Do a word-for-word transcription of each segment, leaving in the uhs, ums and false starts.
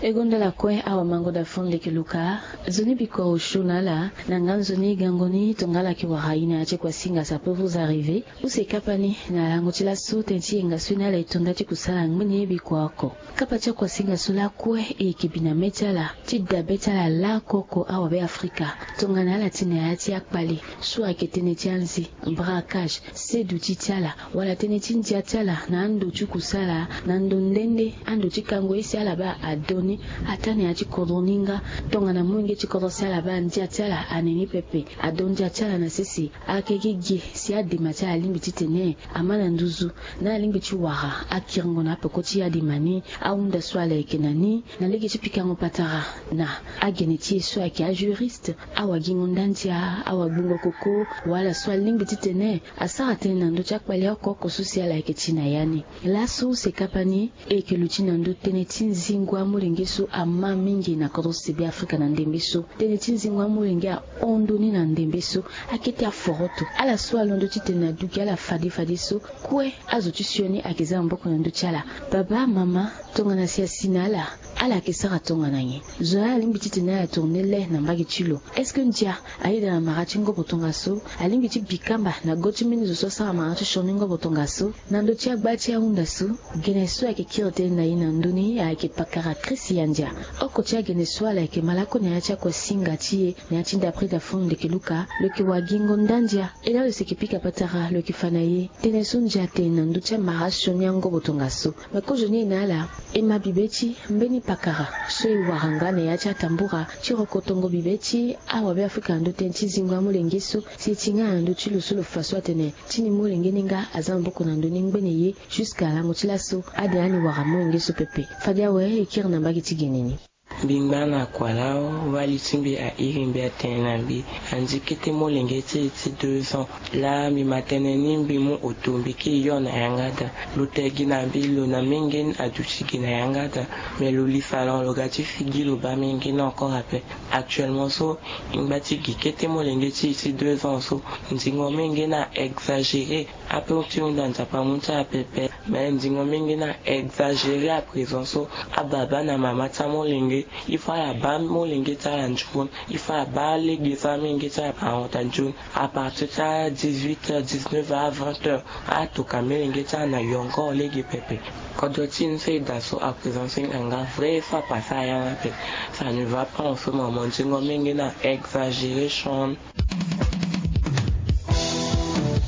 E gonda ala kue awamango da fon leke luka. Nzoni bikua osio na ala na nga nzoni gango ni tongala ke wara ina ya ti kua singa sa pe vous arriver. Use kapa ni na lango ti laso tene ti yenga so ni ala e tonda ti kusala ngbene ye bikua oko. Kapa ti akuasinga so lakue e yeke bi na mê ti ala ti dabe ti ala lakoko awabe afrika. Tongana ala ti na ya ti akpale so ayeke tënë ti anzi, braquage, seduti ti ala wala tënë ti ndia ti ala na ando ti kusala na ndo nde nde ando ti kango ye si ala baa ado ni. Ataa na ya ti kodro ni nga. Tongana molenge ti kodro si ala baa ndia ti ala ane ni pepe, ado ndia ti ala na sese. Ayeke gi gi si adema ti ala alingbi titene ama na nduzu na alingbi ti wara akiringo na apeko ti adema ni. Ahunda so ala yeke na ni na lege ti pikango patara na agene ti e so ayeke ajuriste, awagingo ndandia, awagbungo koko, wala so alingbi titene asara tënë na ndö ti akpale oko oko so si ala yeke ti na ya ni. Laso use kapa ni e yeke luti na ndö tënë ti nzingo amolenge so ama mingi na kodro sebe afrika na ndembe so. Tënë ti nzingo amolenge ahon ndö ni na ndembe so. Akete aforoto ala so alondo titene na duki ala fade fadeso. Kue azo ti sioni ayeke za maboko na ndö ti ala. Baba, mama, tongana si asi na ala, ala yeke sara tongana nyen? Zo na ala alingbi titene ala tourne le na mbage ti lo. Est-ce que ndia ayeda na mara ti ngobo tongaso? Alingbi ti bi kamba na go ti mbeni zo so asara mara ti sioni ngobo tongaso? Na ndö ti agba ti ahunda so, gene so ayeke kiri tënë na e na ndö ni ayeke pakara Christian Ndia. Oko ti agene so ala yeke malako na ya ti akuasinga ti e na ya ti ndapre da fon leke luka, lo yeke wagingo ndandia. E laa lo si yeke pika patara lo yeke fa na e tënë so ndia atene na ndö ti amara sioni angobo tongaso. Me kozoni e na ala, e ma bibe ti mbeni pakara so e wara nga na ya ti atambura ti rokotongo bibe ti awabe afrika na ndö tënë ti zingo amolenge so. Si e ti nga na ndö ti lo so lo fa so atene ti ni molenge ni nga aza maboko na ndö ni ngbene ye. Jusqu'à lango ti laso ade ani wara molenge so pepe. Fade awe e kiri na mbage ti gene ni. Mbi ngba na kua lao, wali ti mbi airi mbi atene na mbi anzi kete molenge ti e ti deux ans. Laa mbi ma tënë ni mbi mu oto mbi ke yo na yanga daa. Lo te gi na mbi lo na menge ni aduti gi na yanga daa. Me lo li salon lo ga ti figi lo baa menge ni encore ape. Actuellement so, e ngba ti gi kete molenge ti e ti deux ans so. Nzingo menge ni a exagéré. Ape ti hunda nzapa mu ti ala pepe. Me nzingo mingi ni a exagéré à présent so. Ababa na mama ti amolenge, il faut ala baa molenge ti ala nzoni. Il faut ala baa lege ti amolenge ti ala ahon daa nzoni. À partir ti a dix-huit heures, dix-neuf heures à vingt heures, atoka molenge ti ala na yongoro lege pepe. Kodro ti ni so e daa so à présent so e hinga nga vrai, il faut apase aya ni ape. Ça ne va pas en ce moment. Nzingo mingi ni a exagéré son.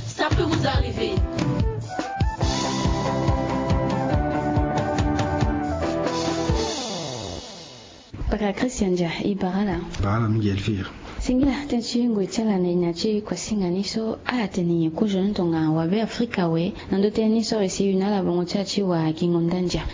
Ça peut vous arriver. Paka Christian Dia, e bara ala. Bara ala mingi Elvire. Singila, tënë ti ngoi ti ala na e na ya ti kuasinga ni so, ala tene nyen kozoni tongana wabe Afrika awe, na ndo tënë ni so awe si e yu na ala bango ti ala ti wagingo ndandia.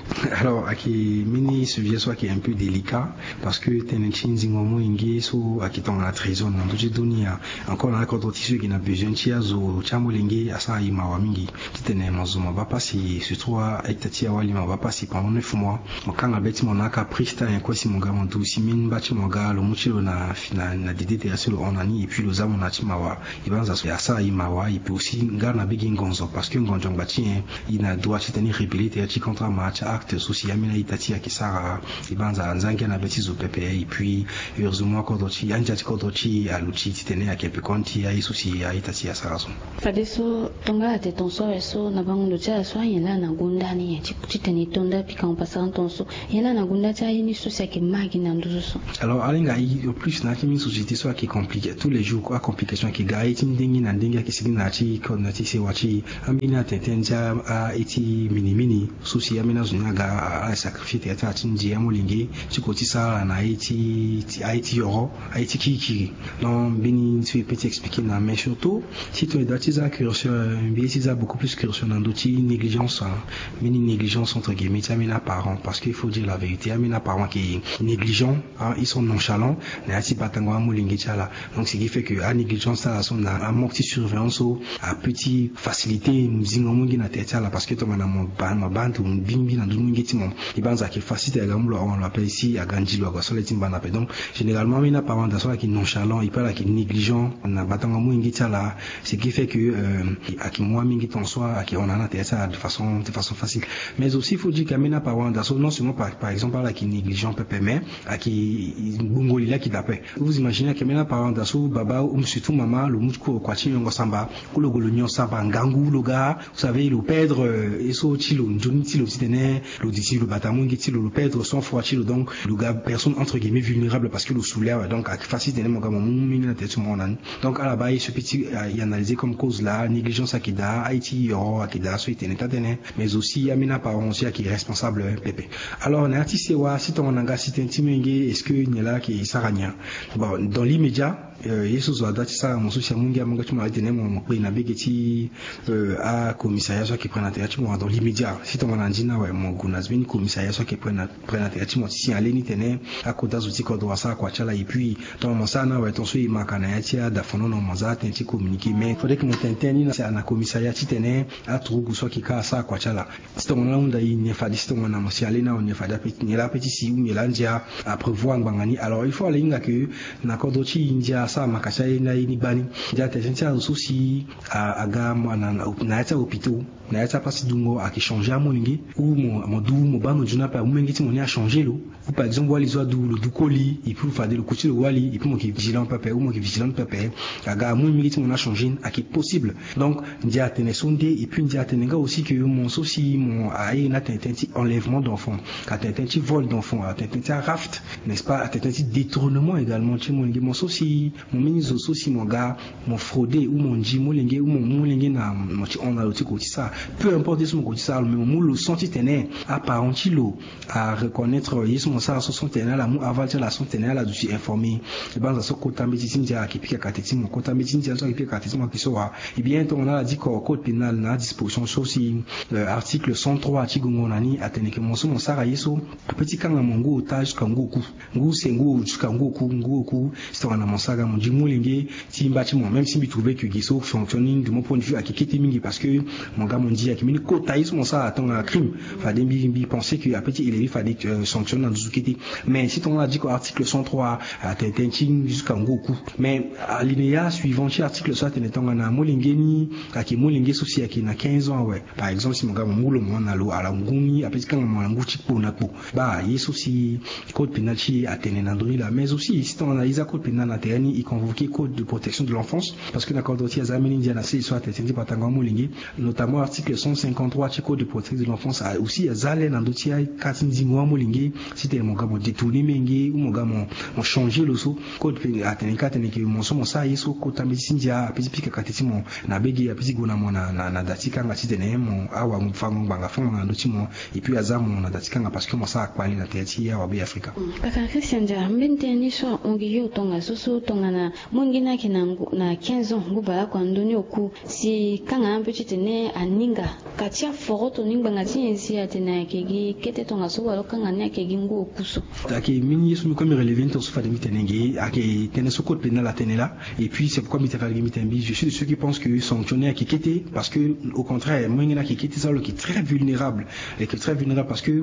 Alors, ayeke mbeni sujet so ayeke un peu délicat, parce que tënë ti nzingo molenge so ayeke tongana trésor na ndö ti dunia. Encore na akodro ti so e yeke na besoin ti azo ti amolenge asara e mawa mingi. Titene mo zo mo baa pasi, surtout a-ita ti awali mo baa pasi pendant neuf mois. Mo kanga be ti mo na akaprice ti ayen kue si mo ga mo duti mbeni mba ti mo ga lo mu ti lo na, na, na dede tere so lo hon na ni, et puis lo za mo na ya ti mawa. E banza so e asara e mawa, e peut aussi ngara na be gi ngonzo, parce que ngonzo angba ti nyen? E na droit titene e rébeller tere ti contre amara ti acte so si ambeni a-ita ti e ayeke sara. E banza anzangia na be ti zo pepe, et puis heureusement kodro ti, andia ti kodro ti e aluti titene ayeke pekoni ti aye so si a-ita ti e asara so. Fadeso, tongana ala tene ton so awe so, na bango ndo ti ala so, anyen laa na gonda ni nyen ti, titene e to nda pikango pasara ton so? Nyen laa na gonda ti aye ni so si ayeke ma gi na nduzu so? Alors, alinga e, en plus na ya ti mbeni société so ayeke compliqué, tous les jours acomplication ayeke ga, aye ti ndenge na ndenge ayeke sigi na ya ti code na ya ti sewa ti e. Ambeni atene tënë ti a, aye ti minimini so si ambeni azo ni aga, a, asacrifié tere ti ala ti ndia molenge ti ko ti sara ala na aye ti, ti, aye ti yoro, aye ti kirikiri. Donc mbeni so e peut ti expliqué na, mais surtout, si tongana e doit ti za curseur, mbi ye ti za beaucoup plus curseur na ndö ti négligence, hein. Mbeni négligence entre guillemets ti ambeni aparent, parce que il faut dire la vérité, ambeni aparent ayeke négligent, hein, ils sont nonchalants na ya ti batango amolenge. ti ala. Donc ce qui fait que anégligence ti ala so na amanque ti surveillance so ape ti facilité zingo molenge na tere ti ala parce que tongana mo baa mo baa ndo bingbi na ndö ti molenge ti mo, e banza ayeke facilité aga mu lo ahon lo ape si aga nzi lo aga so le ti mba na ape. Donc généralement ambeni aparent daa so ayeke nonchalant et puis ala yeke négligent na batango molenge ti ala. Ce qui fait que ayeke mu amolenge ti hon so ayeke hon na ala na tere ti ala de façon facile. Mais aussi il faut dire que ambeni aparent daa so non seulement par exemple ala yeke négligent pepe mais ayeke gbongo li la ayeke daa ape. Vous imaginez ayeke ambeni aparent daa so baba ou surtout mama lo mu ti kue kua ti nyongo samba ou lo gue lo nyon samba ngangu lo ga, vous savez lo perdre ye so ti lo nzoni ti lo titene lo disi lo bata molenge ti lo lo perdre sang froid ti lo. Donc lo ga personne entre guillemets vulnérable parce que lo soule awe. Donc ayeke facile titene mo ga mo mu mingi na tere ti mo hon na ni. Donc ala baa ye so pe ti e analyser comme cause la négligence ayeke daa aye ti yoro ayeke daa so e tene taa tënë. Mais aussi ambeni aparent aussi ayeke responsable pepe. Alors na ya ti sewa si tongana nga si tënë ti molenge est-ce que nyen la ayeke sara nyen? Bon dans l'immédiat ye so zo ada ti sara mo so si amolenge amolenge ti mo ala tene mo kpe na bege ti akomissaria so ayeke près na tere ti mo dans l'immédiat si tongana ndi ni awe mo gue na mbeni commissariat so ayeke près na tere ti mo ti signaler ni tene akota zo ti kodro asara kua ti ala. Et puis tongana mo sara ni awe ton so e ma ka na ya ti adafonono mo za atene ti communiquer mais faudrait ke mo tene tënë ni na commissariat titene aturugu so ayeke ka asara kua ti ala. Si tongana ahunda e nyen fade si tongana mo si ale ni awe nyen fade ape nyen laa ape ti si ou nyen laa ndia aprévoir ngbanga ni. Alors il faut ala hinga ke na kodro ti e ndia asara maka ti aye ni aye ni gbani. Ndia atene tënë ti azo so si aga na ya ti ahôpitaux na ya ti apasi dungo ayeke changer amolenge ou mo du mo baa ndo nzoni ape amolenge ti mo ni achanger lo. Ou par exemple wali so adu lo du koli et puis fade lo ku ti lo wali et puis mo yeke vigilant pepe ou mo yeke vigilante pepe. Aga amolenge ti mo ni achanger ni ayeke possible. Donc ndia atene so nde et puis ndia atene nga aussi ke mo so si mo aye ni atene tënë ti enlèvement d'enfant, atene tënë ti vol d'enfant, atene tënë ti araft, n'est-ce pas, atene tënë ti détournement également ti molenge mo so si mo mbeni zo so si mo ga mo frauder ou mo ndi molenge ou mo mu molenge na mo ti hon na lo ti ko ti sara peu importe ye so mo ko ti sara lo mais mo mu lo sens titene aparent ti lo areconnaître ye so mo sara so sens titene ala mu aval ti ala sens titene ala duti informer. E banza so kota mbeti ti ndia ayeke pika kate ti mo kota mbeti ti ndia so ayeke pika kate ti mo ayeke so wa. Eh bien tongana ala di code pénal na adisposition so si article cent trois ti gongo na ni atene ke mo so mo sara ye so ape ti kanga mo ngu ota jusqu'à ngu oku. Ngu se ngu jusqu'à ngu oku ngu oku. Si tongana mo sara ga mo ndi molenge ti mba ti mo même si mbi trouver ke gi so fonctionne ni de mon point de vue ayeke kete mingi parce que mo ga mo ndi ayeke mbeni kota ye so mo sara tongana crime. Fade mbi mbi pense ke ape ti élever fade sanctionne na nduzu kete. Mais si tongana ala di ko article cent trois atene tënë ti jusqu'à ngu oku. Mais alinéa suivant ti article so atene tongana molenge ni ayeke molenge so si ayeke na quinze ans awe. Par exemple si mo ga mo mu lo mo hon na lo ala ngu ni ape ti kanga mo ala ngu ti kpo na kpo. Baa ye so si code pénal ti e atene na ndö ni laa mais aussi si tongana e za code pénal na tere ni e convoquer code de protection de l'enfance. Parce que na kodro ti e aza mbeni ndia na sese so atene tënë ti batango amolenge. Notamment article cent cinquante-trois ti code de protection de l'enfance aussi aza le na ndö ti aka ti ndingo amolenge. Titene mo ga mo détourner molenge ou mo ga mo changer lo so code pénal atene ka atene ke mo so mo sara ye so kota mbeti ti ndia ape ti pika kate ti mo na bege ape ti gue na mo na da ti kanga titene mo awafango ngbanga fango na ndö ti mo. Et puis aza mo na da ti kanga parce que mo sara kpale na tere ti awabe afrika. Paka christian dia mbeni tënë ni so ahon gi yo tongaso so tongana molenge ni ayeke na quinze ans ngu baleoko na ndö ni oku si kanga na ape titene aninga ka ti aforoto ni ngbanga ti nyen si atene ayeke gi kete tongaso wala kanga ni ayeke gi ngu oku so. Ayeke mbeni ye so mbi kue mbi relever ni tongaso fade mbi tene nge ayeke tënë so code pénal atene laa. Et puis c'est pourquoi mbi tene fade mbi tene mbi je suis de ceux qui pensent que sanction ni ayeke kete parce que au contraire molenge ni ayeke kete so lo yeke très vulnérable. Lo yeke très vulnérable parce que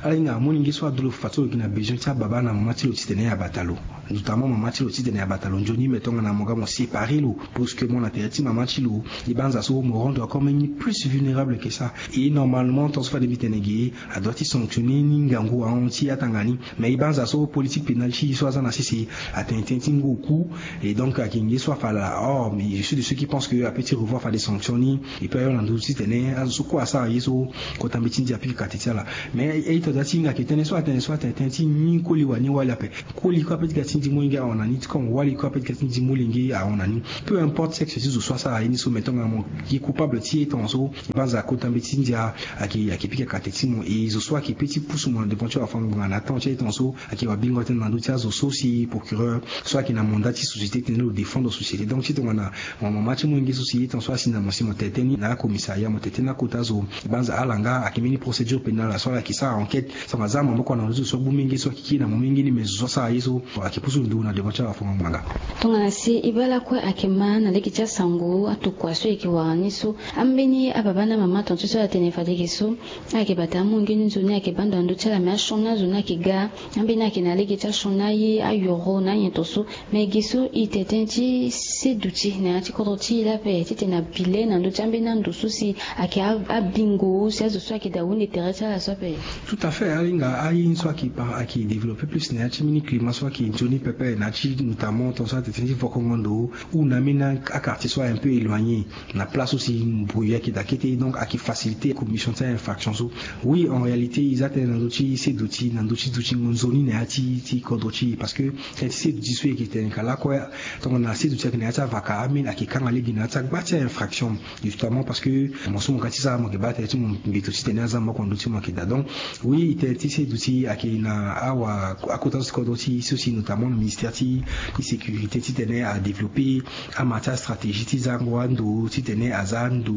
ala hinga molenge so adu lo fadeso lo yeke na besoin ti ababa na mama ti lo titene abata lo. Notamment mama ti lo titene abata lo nzoni mais tongana mo ga mo séparer lo brusquement na tere ti mama ti lo. E banza so mo rendre encore même ni plus vulnérable que ça. Et normalement tongaso fade mbi tene ge adoit ti sanctionner ni ngangu ahon ti atanga ni. Mais e banza so politique pénale ti e so aza na sese atene tënë ti ngu oku. Et donc ayeke nge so afa laa or mais je suis de ceux qui pensent que ape ti revoir fade sanction ni. Et puis ayo na ndö titene azo so kue asara ye so kota mbeti ti ndia apika kate ti ala. Mais e to da ti hinga ayeke tënë so atene so atene tënë ti ni koli wani wali ape. Koli kue ape ti ga ti ndi molenge ahon na ni ti comme wali kue ape ti ga ti ndi molenge ahon na ni. Peu importe sexe ti zo so asara ye ni so mais tongana mo ye coupable ti ye tongaso Banza akota mbeti ti ndia ayeke pika kate ti mo, e zo so ayeke pe ti pusu mo na devant ti wafango-ngbanga na atemps ti aye tonga so ayeke wabingo tënë na ndö ti azo so si procureur so ayeke na mandat ti société tene lo défendre société. Donc ti tongana mo mama ti molenge so si ye tonga so asi na mo si mo tene tënë ni na acommissariat, mo tene tënë ni akota zo, banza ala nga ayeke mbeni procédure pénale so ala yeke sara enquête. Tongana aza maboko na ndö ti zo so agbu menge so ayeke kiri na mo menge ni, mais zo so asara ye so ayeke pusu ndo na devant ti awafango-ngbanga. Tongana si e baa lakue ayeke ma na lege ti asango atokua so e yeke wara ni so, ambeni ababa na amama tonga ti so ala tene fade ge so ayeke bata amolenge ni nzoni ayeke baa ndo na ndö ti ala, me asioni azo ni ayeke ga. Ambeni ayeke na lege ti asioni aye, ayoro na anyen tonga so. Me ge so e tene tënë ti seduti na ya ti kodro ti e la ape titene abile na ndö ti ambeni ando so si ayeke a- abingo si azo so ayeke daa hunde tere ti ala so ape. Tout à fait, ahinga aye ni so ayeke pa- ayeke développé plus na ya ti mbeni climat so ayeke nzoni pepe na ya ti notamment tonga so atene tënë ti vokongo ndo ou na ambeni a- aquartier so ayeke un peu éloigné. Na place so si mbui ayeke daa kete, donc ayeke facilité commission ti a-infraction so. Oui, en réalité e za tënë na ndö ti seduti na ndö ti dutingo nzoni na ya ti ti kodro ti e, parce que tënë ti seduti so e yeke tene ka lakue, tongana seduti ayeke na ya ti avaka, ambeni ayeke kanga lege na ya ti agba ti a-infraction. Justement parce que mo so mo ga ti sara, mo yeke baa tënë ti mo mbeto titene aza maboko na ndö ti mo ayeke daa. Donc oui, tënë ti seduti ayeke na awa akota so ti kodro ti e so si notamment na ministère ti ti sécurité titene adéveloppé ama ti astratégie ti zango ando titene aza ndo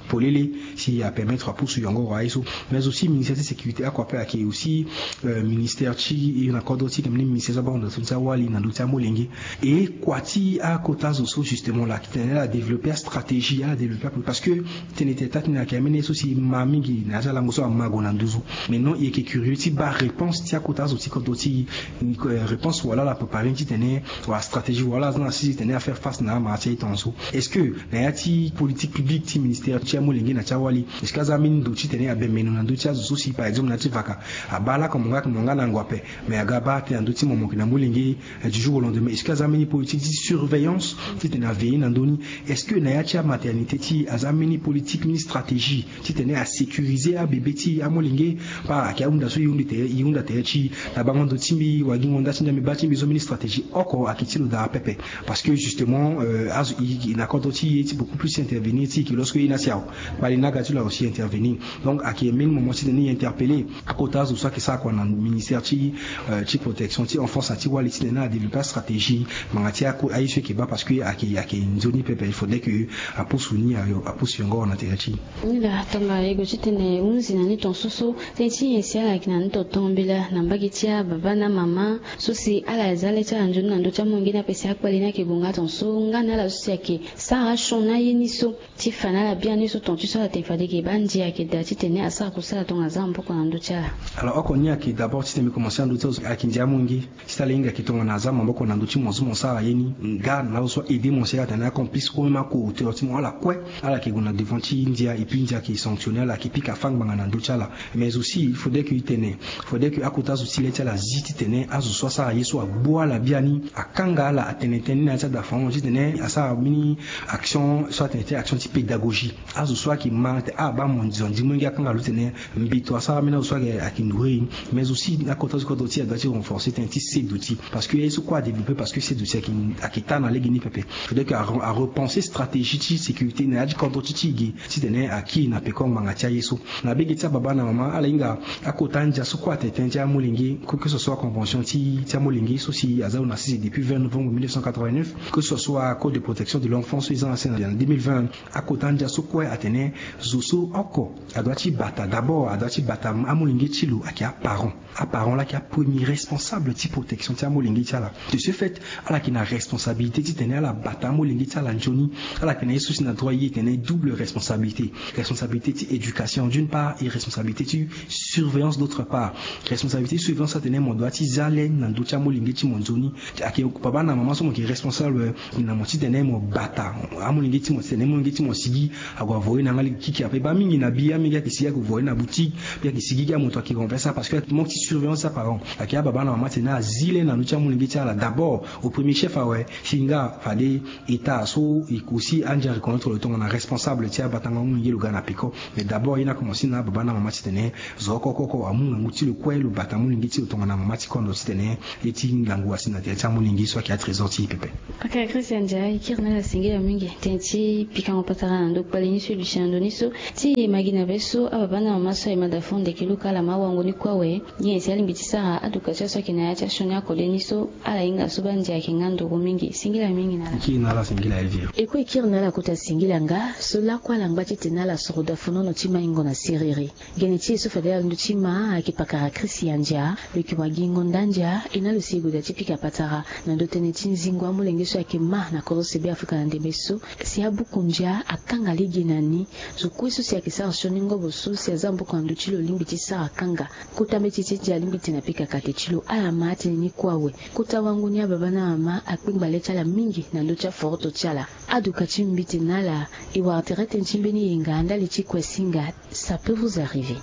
polele si apermettre apusu yongoro aye so. Mais aussi ministère ti sécurité oko ape ayeke aussi, euh, ministère ti e na kodro ti e, na mbeni ministère so abaa ndo na so ti awali na ndö ti amolenge. E kua ti akota zo so justement la titene ala développé astratégie, ala développé apo- parce que tene tene taa ti ni ayeke ambeni ye so si e ma mingi na ya ti alango so ama gue na nduzu. Mais non, e yeke curieux ti baa réponse ti akota zo ti kodro ti e, euh, réponse wala ala préparé ni titene wala stratégie wala aza na sese titene afaire face na amara ti aye tongaso. Est-ce que na ya ti politique publique ti ministère ti amolenge na ti awali, est-ce que aza ambeni ndo titene abembe ndo na ndö ti azo so si par exemple na ya ti vaka abaa lako mo nga mo nga na ngu ape, mais aga abaa tënë na ndö ti mo mo yeke na molenge, euh, du jour au lendemain? Est-ce que aza ambeni politique ti surveillance titene aveiller na ndö ni? Est-ce que na ya ti amaternité ti e aza ambeni politique, mbeni stratégie titene asécuriser abébé ti e, amolenge? Par ayeke ahunda so e hunda tere, e hunda tere ti e na bango ndo ti mbi, wagingo nda ti mbi, mbi baa ti mbi so mbeni stratégie oko ayeke ti lo daa pepe. Parce que justement, euh, azo e, e na kodro ti e ti beaucoup plus intervenir ti e ke lorsque e na si awe, kpale ni aga ti lo aussi intervenir. Donc ayeke mbeni moment titene e interpeller akota azo so ayeke sara kua na ministère ti, euh, ti protection ti enfance na ti wali titene adéveloppé astratégie ngbanga ti ako- aye so e yeke baa, parce que ayeke ayeke nzoni pepe, il faudrait que apusu ni ayo apusu yongoro na tere ti e. Ni laa tongana e gue titene e hunzi na ni tongaso so tënë ti nyen si ala yeke na ni tonga tongana mbela na mbage ti ababa na amama so si ala za le ti ala nzoni na ndö ti amolenge ni ape si akpale ni ayeke gue nga tongaso nga na ala so si ayeke sara asioni aye ni so ti fa na ala biani so tonga ti so ala tene fade ge baa ndia ayeke daa titene asara kusala tongana aza maboko na ndö ti ala. Alors oko ni ayeke d'abord titene mbi commencer na ndö ti azo ayeke ndia amolenge. Ti tala e hinga yeke tongana aza maboko na ndö ti mo so mo sara ye ni nga na azo so a-aider mo si ala tene acomplice ou même acoauteur ti mo, ala kue ala yeke gue na devant ti ndia et puis ndia ayeke sanctionner ala, ayeke pika afa ngbanga na ndö ti ala. Mais aussi il faudrait que e tene, faudrait que akota azo ti le ti ala azi titene azo so asara ye so agbu ala biani, akanga ala, atene tënë ni na ya ti adafango titene asara mbeni action so atene ti action ti pédagogie. Azo so ayeke ma tene ah baa mo nzoni mo yeke akanga lo titene mbeto asara ambeni azo so ayeke ayeke nourrir. Mais aussi na kota so kodro ti e adoit ti renforcer tënë ti seduti, parce que ye so kue adéveloppé, parce que seduti ayeke ayeke taa na lege ni pepe. Faudrait que a- arepenser stratégie ti sécurité na ya ti kodro ti ti e ge titene akiri na peko ngbanga ti aye so. Na bege ti ababa na mama ala hinga akota ndia so kue atene tënë ti amolenge, que que ce soit convention ti ti amolenge so si aza lo na sese depuis vingt novembre mille neuf cent quatre-vingt-neuf, que ce soit code de protection de l'enfant so e za na sese na deux mille vingt. Akota ndia so kue atene zo so oko adoit ti bata, d'abord adoit ti bata amolenge ti lo ayeke aparent. Aparent la ayeke apremier responsable ti protection ti amolenge ti ala. De ce fait ala yeke na responsabilité titene ala bata amolenge ti ala nzoni. Ala yeke na ye so si na droit e tene double responsabilité. Responsabilité ti éducation d'une part et responsabilité ti surveillance d'autre part. Responsabilité ti surveillance atene mo doit ti za le na ndö ti amolenge ti mo nzoni. Ayeke baba na mama so mo yeke responsable na mo titene mo bata amolenge ti mo, titene amolenge ti mo asigi ague avoye na nga lege kiki ape. Baa mingi na bi amolenge ayeke sigi ague voye na boutique, mbi ayeke sigi gi amoto ayeke renverser, parce que manque ti surveillance ti aparent. Ayeke ababa na mama titene azi le na ndö ti amolenge ti ala d'abord au premier chef awe. Si nga fade état so e aussi andia reconnaître lo tongana responsable ti abatango amolenge lo ga na peko. Mais d'abord ye ni akomanse na ababa na mama titene zo oko oko oko amu ngangu ti lo kue lo bata amolenge ti lo tongana mama ti kondo titene ye ti ngangu asi na tere ti amolenge so ayeke atrésor ti e pepe. Ok, Christian Ndiaye, e kiri na ala singila mingi tënë ti pikango patara na ndo kpale ni. Solution na ndo ni so ti e ma gi na be so ababa na mama so aye ma da fo ndeke luka ala ma wango ni kue awe. Nyen si alingbi ti sara aduka ti aso ayeke na ya ti asioni akode ni so ala hinga so baa ndia ayeke nga nduru mingi singila mingi na ala. Kiri na ala singila ye vie. E kue e kiri na ala kota singila nga so lakue ala ngba titene ala soro da funono ti maingo na siriri. Gene ti e so fade ala ndö ti ma ayeke pakara Christian Ndia lo yeke wagingo nda ndia e na lo si e gue da ti pika patara na ndö tënë ti nzingo amolenge so ayeke ma na korose be Afrika na ndembe so. Si abuku ndia akanga lege na ni. Zo kue so si ayeke sara sioni ngobo so si aza maboko na ndö ti lo lingbi ti sara kanga. Kota mbeti ti ndia alingbi tene apika kate ti lo ala ma atene ni kue awe. Kota wango ni ababa na mama akpengba le ti ala mingi na ndö ti aforoto ti ala. Aduka ti mbite na ala e wara tere tënë ti mbeni yenga ndali ti kue singa. Ça peut vous arriver.